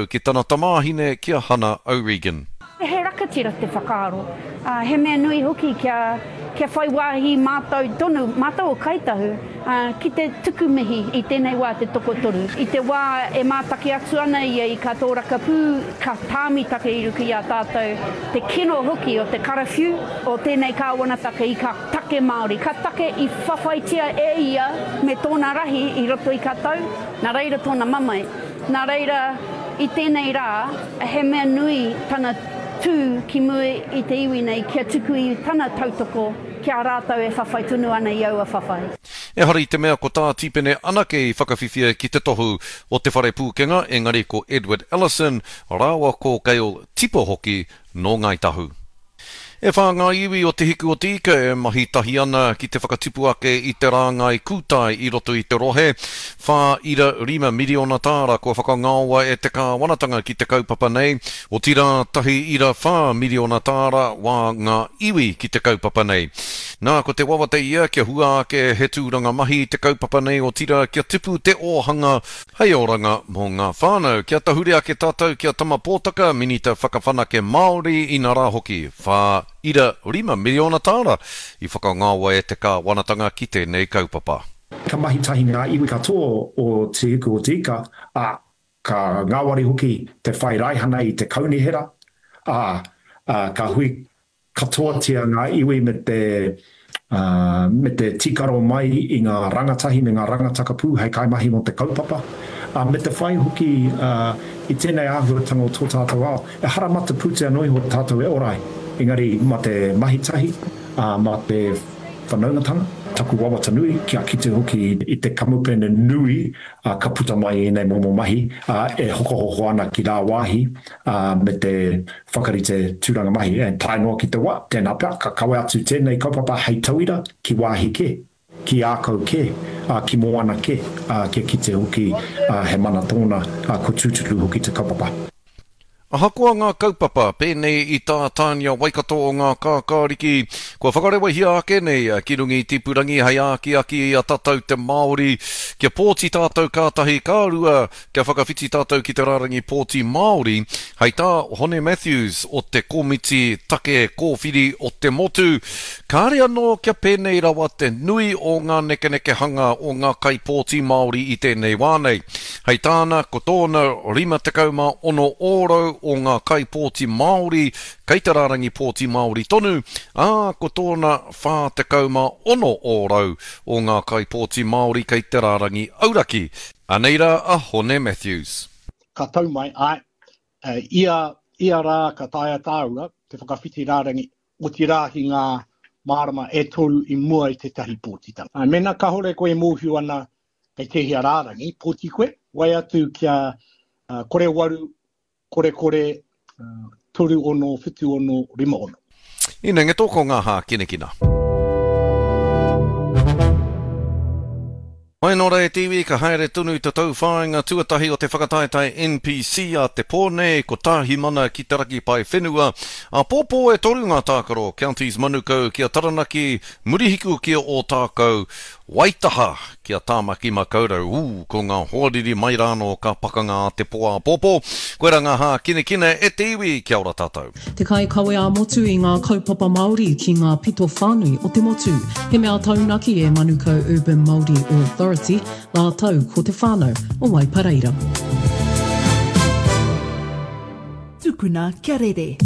Ki tana tamāhine ki a Hana O'Regan. He rakatira te whakaaro, ā, he mea nui hoki kia, kia whai wāhi mātou tonu, mātou o Kāi Tahu, ā, ki te tuku mihi i tēnei wā te tokotoru. I te wā e mātaki atu ana ia i kā tōrakapū, ka tāmi take i ruku i a tātou, te kino hoki o te karawhiu o tēnei kāwanataka i kā take Māori, ka take i whawhaitia e ia me tōna rahi i roto i kā tau, nā reira tōna mamae. Nā reira, i tēnei rā, he mea nui tana tū ki mua i te iwi nei kia tuku i tana tautoko ki a rātou e whawhai tonu ana i aua whawhai. Ehara i te mea ko tā Tipene anake i whakawhiwhia ki te tohu o Te Whare Pūkenga, engari ko Edward Ellison rāua ko Gail Tipa hoki nō Ngāi Tahu. E whā ngā iwi o Te Hiku o Te Ika e mahi tahi ana ki te whakatipu ake i te rāngai kūtai i roto i te rohe. 4.5 miriona tāra kua whakangaoa e te kāwanatanga ki te kaupapa nei, otirā 1.4 miriona tāra wā ngā iwi ki te kaupapa nei. Nā, ko te wawata ia kia hua ake he tūranga mahi i te kaupapa nei otirā kia tipu te ōhanga Hei oranga mō ngā whānau. Kia tahuri ake tātou ki a Tama Pōtaka, Minita Whakawhanake Māori, inarā hoki, 4.5 miriona tāra i whakangaoa e te kāwanatanga ki tēnei kaupapa. Ka mahi tahi ngā iwi katoa o Te Hiku o Te Ika, ā, ka ngāwari hoki te whai raihana i te kaunihera, ā, ka hui katoatia ngā iwi me te me te tīkaro mai i ngā rangatahi me ngā rangatakapū hei kaimahi mō te kaupapa, me te whai hoki i tēnei āhuatanga o tō tātou ao. Ehara mā te pūtea noa iho tātou e ora ai, engari mā te mahi tahi, mā te whanaungatanga. Taku wawata nui kia kite hoki i te kamupene nui ka puta mai i ēnei momo mahi e hokohoko ana ki rāwāhi me te whakarite tūranga mahi, and tae noa ki te wa, tēnā pea, ka kawe atu tēnei kaupapa hei tauira ki wāhi kē, ki ākau kē, ā, ki moana kē, ā, kia kite hoki, ā, he mana tōna, ā, kua tūturu hoki te kaupapa. Ahakoa ngā kaupapa, pēnei i tā Tania Waikato o Ngā Kākāriki, kua whakarewahia ake nei ki runga i te ipurangi hei ākiaki i a tatau te Māori kia pōti tātou ka tahi, ka rua, Kia whakawhiti tātou ki te rārangi pōti Māori, hei tā Hone Matthews o te Komiti Take Kōwhiri o te Motu, kāre anō kia pēnei rawa te nui o ngā nekenekehanga o ngā kaipōti Māori i tēnei wā nei. Hei tāna, ko tōna 56 ōrau o ngā kaipōti Māori kei te rārangi pōti Māori tonu, ā, ko tōna 46 ōrau o ngā kaipōti Māori kei te rārangi auraki. Anei rā a Hone Matthews. Ka tau mai, āe, ia, ia rā ka taea tāua te whakawhiti rārangi, otirā ki ngā marama e toru i mua i tētahi pōtitanga. Āe, mēnā kāore koe e mōhio ana kei tēhea rārangi pōti koe, wai atu kia kore waru, korekore, 36, 76, 56. Inengeto ko ngā hākinakina. Mai nō rā e te iwi, ka haere tonu te tauwhāinga tuatahi o te whakataetae NPC a te pō nei, ko Tāhimana ki te raki pae whenua. Āpōpō e toru ngā tākaro, Counties Manukau ki a Taranaki, Murihiku ki a Ōtākou, Waitaha ki a Tāmaki Makaurau, ū, ko ngā hoariri mai rānō ka pakanga a te pō āpōpō. Koirā ngā hākinakina e te iwi, kia ora tātou. Te kaikawe ā-motu i ngā kaupapa Māori ki ngā pito whānui o te motu. He mea taunaki e Manukau Urban Māori Authority rātou ko te whānau o Waipareira. Tukuna kia rere.